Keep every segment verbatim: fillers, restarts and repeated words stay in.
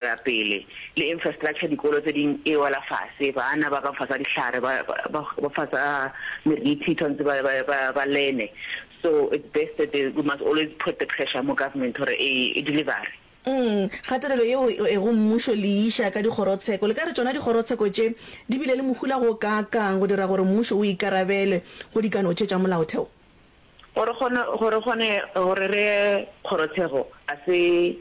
Pele le infrastructure, dikolo tse ding e wela fase, bana ba ka fasa dihlare, ba ba ba fasa meriti, tshwanetse ba ba ba ba learne. So it's best that they, we must always put the pressure mo government gore e e deliver. Mm, kgatelelo yeo e go mmušo le iša ka dikgorotsheko. Le ka re tšona dikgorotsheko tše di bile le mohola go kaakang go dira gore mmušo o ikarabele go dikano tše tša molaotheo? Gore kgone gore kgone gore re ye kgorotshego a se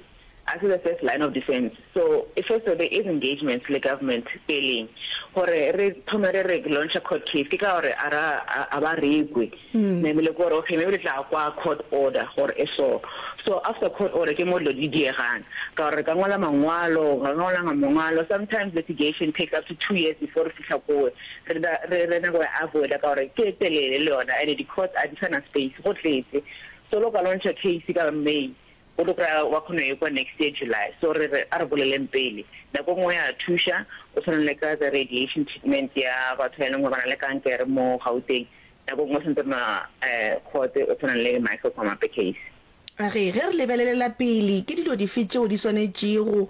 a se the first line of defence. So first there is engagements le government peleng gore re thome re re launcha court case, ke ka gore a ra a ba re kwe namile ke gore okay, maybe le tla kwa court order gore e so. So after court order ke mo dilo di diegang, ka gore re ka ngwala mangwalo, ka ngwala mangwalo. Sometimes litigation takes up to two years before re fihla kowe re re re nako ya avoida, ka gore ke e telele le yona, and di-courts a di sana space, go tletse. So lo ka launcha case ka May, o tlo kry-a wa kgona e kwa next year July. So re re a re boleleng pele. Nako nngwe ya thuša, o tshwana le ka the radiation treatment ya batho ba e leng gore ba na le kankere mo Gauteng. Nako nngwe santse re na um court, o tshwana le Michael Komape case. Ge ge re lebelelela pele, ke dilo dife tšeo di swanetšego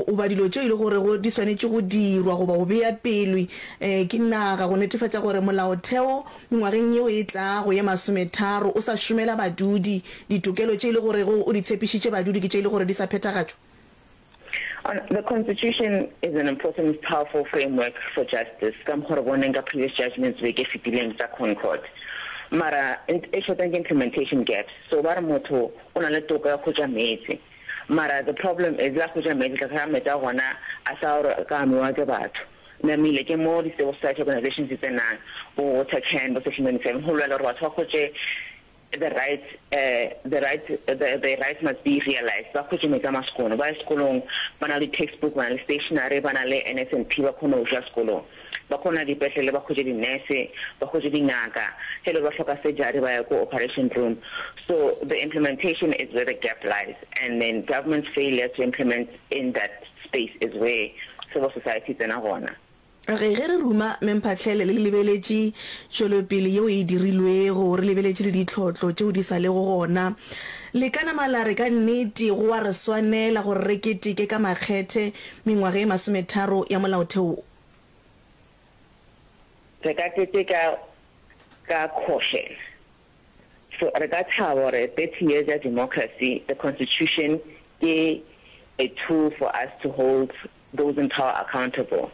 goba dilo tšeo e le gore di swanetše go dirwa goba go bea pele ke naga go netefatša gore molaotheo mengwageng yeo e tlago ye masometharo o sa šomela badudi, ditokelo tše e le gorego o di tshepišitše badudi ke tše e le gore di sa phethagatšwa? The constitution is an important, powerful framework for justice, ka mokgwa re boneng ka previous judgments beke fetileng tsa Concord, mara e shortang ke implementation gaps. So ba re motho o na le toka ya go hwetša meetse, mara the problem is la hwetša meetse, tla kry-a meetse a gona a sa gore ka nwewa ke batho. Namile ke mo di-civil society organizations di tsenang, bo Water Can, bo Section twenty-seven, go lwela gore batho ba hwetše the right uh, the right the, the rights must be realized. Ba hwetše meetse a masekono, ba ye sekolong ba na le textbook, ba na le stationery, ba na le N S N P, ba kgone go ja sekolong, ba kgona dipetlele, ba hwetše di-nurse, ba hwetše dingaka, ge le ba hloka surgery ba ya ko operation room. So the implementation is where the gap lies, and then government's failure to implement in that space is where civil society tsena gona. Ge ge re ruma Memphahlele, le lebeletše tšwelopele yeo e dirilwego, re lebeletše le ditlhotlo tšeo di sa lego gona, le ka nama la re ka nnete go a re swanela gore re keteke ka makgethe mengwaga e masometharo ya molaotheo wo? Re ka keteka ka caution. So re ka thaba gore thirty years ya democracy, the constitution ke a tool for us to hold those in power accountable,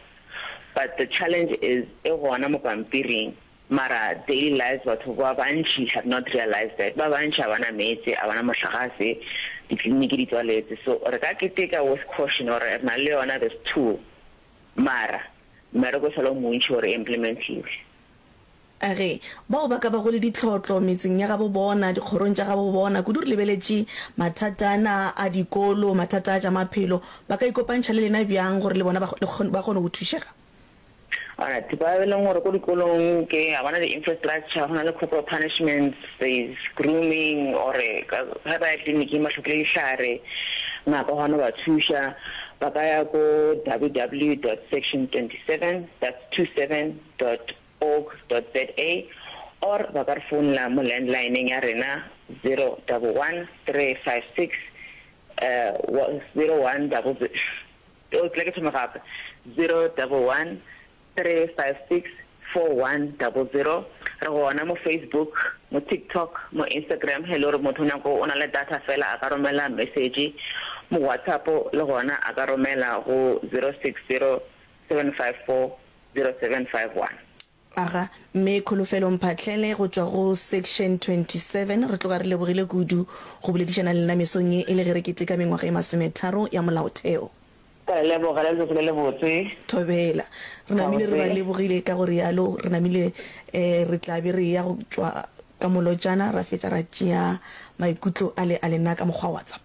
but the challenge is e gona mo pampiring, mara daily lives batho ba bantši have not realized that. Ba bantši a bana meetse, a bana mohlagase, ditleliniki di tswaletse. So re ka keteka with caution gore re na le yona this tool, mara mmereko o sala o montši gore e implementiwe. Ge bao ba ka bago le ditlhotlo metseng ya gabo bona, dikgorong tša gabo bona, kudu re lebeletše mathata ana a dikolo, mathata a tša maphelo, ba ka ikopantšha le lena bjang gore le bona ba kgone go thušega? Alright, ba e leng gore ko dikolong ke ga bana di-infrastructure, go na le corporal punishments, there is grooming, or ge ba ya tleliniking ba hlokile dihlare, ngaka gona ba thuša, ba ka ya ko W W dot section twenty seven, that's two seven dot org dot za, or ba ka re founela mo landlineng ya rena zero double one three five six zero one double zero, o tla ke thome gape, zero double one three five six four one double zero. Re gona mo Facebook, mo TikTok, mo Instagram. He le gore motho nako o na le data fela, a ka romela message mo WhatsApp, le gona a ka romela go zero six zero seven five four zero seven five one. Aga, mme Kholofelo Mphahlele go tšwa go Section twenty-seven, re tloga re lebogile kudu go boledišana le lena mesong ye e le ge re keteka mengwaga e masometharo ya molaotheo. Ka le leboga, le letsatsi le le botse. Thobela. Re namile re ba lebogile ka go rialo, re namile um re tla be re ya go tšwa ka molotšana, ra fetša ra tšea maikutlo a le a lena ka mokgwa wa WhatsApp.